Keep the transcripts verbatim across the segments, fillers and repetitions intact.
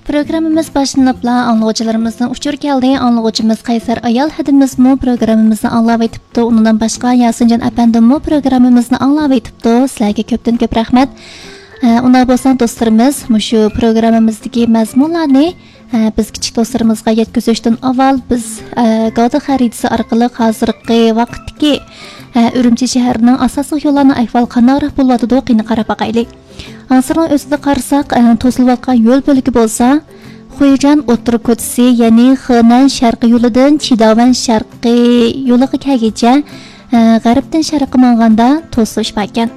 پروگراممىمىز باشلىنىپلا ئاڭلىغۇچىلىرىمىزدىن ئۇچۇر كەلدى. ئاڭلىغۇچىمىز قەيسەر ئايال ھەدىمىزمۇ پروگراممىمىزنى ئاڭلاۋېتىپتۇ. ئۇنىڭدىن باشقا ياسىنجان ئەپەندىممۇ پروگراممىمىزنى ئاڭلاۋېتىپتۇ. سىلەرگە كۆپتىن كۆپ رەھمەت. ئە، ئۇنداق بولسا دوستلىرىمىز، مۇشۇ پروگراممىمىزدىكى مەزمۇنلارنى، ئە، بىز كىچىك دوستلىرىمىزغا يەتكۈزۈشتىن ئاۋۋال بىز، ئە، گاۋدا خەرىتىسى ئارقىلىق ھازىرقى ۋاقىتتىكى، ئە، ئۈرۈمچى شەھىرىنىڭ ئاساسلىق يوللارنىڭ ئەھۋالى قانداقراق بولۇۋاتىدۇ، قېنى قاراپ باقايلى. ھازىرنىڭ ئۆزىدە قارىساق، ئە، توسۇلۇۋاتقان يول بۆلىكى بولسا، خۇيجان ئوتتۇرا كوچىسى، يەنى خېنەن شەرقىي يولىدىن چىداۋەن شەرقىي يولىغا كەلگۈچە، ئە، غەربتىن شەرققە ماڭغاندا توسۇلۇش باركەن.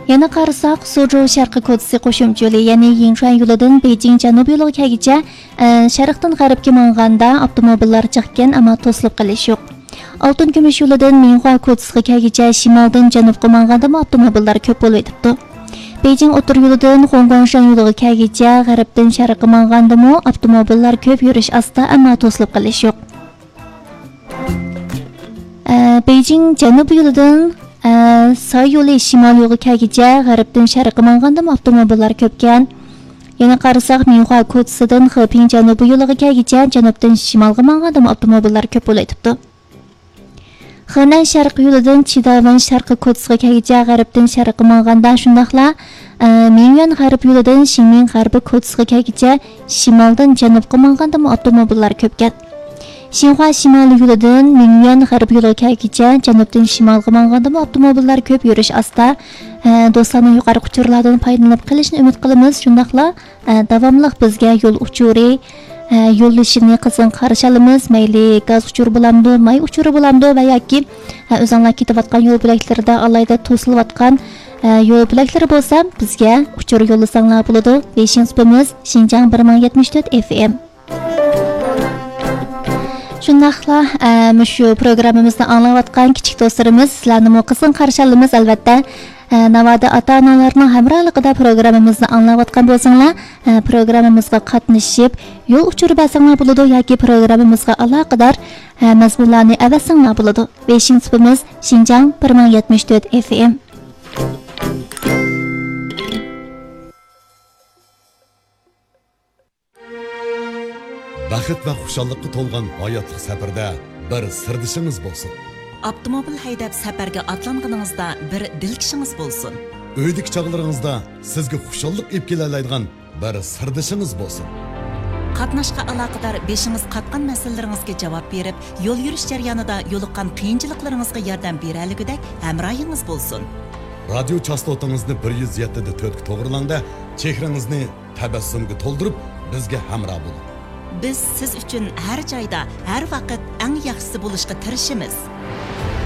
يەنە قارىساق، سۇجۇ شەرقىي كوچىسى قوشۇمچە يولى، يەنى يىنچۇەن يولىدىن بېيجىڭ جەنۇبىي يولىغا كەلگۈچە، ئە، شەرقتىن غەربكە ماڭغاندا ئاپتوموبىللار جىقكەن، ئەمما توسۇلۇپ قېلىش يوق. ئالتۇن كۈمۈش يولىدىن مىڭخۇا كوچىسىغا كەلگۈچە شىمالدىن جەنۇبقا ماڭغاندىمۇ ئاپتوموبىللار كۆپ بولۇۋېتىپتۇ. بېيجىڭ ئوتتۇرا يولىدىن خۇڭگۇاڭشەن يولىغا كەلگۈچە غەربتىن شەرققە ماڭغاندىمۇ ئاپتوموبىللار كۆپ، يۈرۈش ئاستا، ئەمما توسۇلۇپ قېلىش يوق. ئە، بېيجىڭ جەنۇبىي يولىدىن، ئە، ساي يولى شىمال يولغا كەلگۈچە غەربتىن شەرققە ماڭغاندىمۇ ئاپتوموبىللار كۆپكەن. يەنە قارىساق، مىڭخۇا كوچىسىدىن خېپىڭ جەنۇبىي يولىغا كەلگۈچە جەنۇبتىن شىمالغا ماڭغاندىمۇ ئاپتوموبىللار كۆپ بولۇۋېتىپتۇ. خېنەن شەرقىي يولىدىن چىداۋەن شەرقىي كوچىسىغا كەلگۈچە غەربتىن شەرققە ماڭغاندا شۇنداقلا، ئە، مىڭيۈەن غەربىي يولىدىن شىڭمىڭ غەربىي كوچىسىغا كەلگۈچە شىمالدىن جەنۇبقا ماڭغاندىمۇ ئاپتوموبىللار كۆپكەن. شىنخۇا شىمالىي يولىدىن مىڭيۈەن غەربىي يولىغا كەلگۈچە جەنۇبتىن شىمالغا ماڭغاندىمۇ ئاپتوموبىللار كۆپ، يۈرۈش ئاستا. ئە، دوستلارنىڭ يۇقىرىقى ئۇچۇرلاردىن پايدىلىنىپ قېلىشىنى ئۈمىد قىلىمىز. شۇنداقلا، ئە، داۋاملىق بىزگە يول ئۇچۇرى، ئە، يوللىشىنى قىزغىن قارشى ئالىمىز. مەيلى گاز ئۇچۇرى بولامدۇ، ماي ئۇچۇرى بولامدۇ ۋە ياكى، ئە، ئۆزۈڭلار كېتىۋاتقان يول بۆلەكلىرىدە ئالاھىدە توسۇلۇۋاتقان، ئە، يول بۆلەكلىرى بولسا بىزگە ئۇچۇر يوللىساڭلار بولىدۇ. بېيىشىڭ سۈپىمىز شىنجاڭ بىر مىڭ يەتمىش تۆت ئېف ئېم. شۇنداقلا، ئە، مۇشۇ پروگراممىمىزنى ئاڭلاۋاتقان كىچىك دوستلىرىمىز، سىلەرنىمۇ قىزغىن قارشى ئالىمىز، ئەلۋەتتە. ئە، ناۋادا ئاتا-ئانىلارنىڭ ھەمراھلىقىدا پروگراممىمىزنى ئاڭلاۋاتقان بولساڭلار، ئە، پروگراممىمىزغا قاتنىشىپ، يول ئۇچۇرى بەرسەڭلار بولىدۇ ياكى پروگراممىمىزغا ئالاقىدار، ئە، مەزمۇنلارنى ئەۋەتسەڭلار بولىدۇ. بېيىشىڭ سۈپىمىز شىنجاڭ بىر مىڭ يەتمىش تۆت ئېف ئېم. بەخت ۋە خۇشاللىققا تولغان ھاياتلىق سەپىرىدە بىر سىردىشىڭىز بولسۇن. ئاپتوموبىل ھەيدەپ سەپەرگە ئاتلانغىنىڭىزدا بىر دىلكىشىڭىز بولسۇن. ئۆيدىكى چاغلىرىڭىزدا سىزگە خۇشاللىق ئېلىپ كېلەلەيدىغان بىر سىردىشىڭىز بولسۇن. قاتناشقا ئالاقىدار بېشىڭىز قاتقان مەسىلىلىرىڭىزگە جاۋاب بېرىپ، يول يۈرۈش جەريانىدا يولۇققان قىيىنچىلىقلىرىڭىزغا ياردەم بېرەلىگۈدەك ھەمراھىڭىز بولسۇن. رادىيو چاستوتىڭىزنى بىر يۈز يەتتە دە تۆتكە توغرىلاڭ-دە، چېھرىڭىزنى تەبەسسۇمغا تولدۇرۇپ، بىزگە ھەمراھ بولۇڭ. بىز سىز ئۈچۈن ھەر جايدا، ھەر ۋاقىت ئەڭ ياخشىسى بولۇشقا تىرىشىمىز.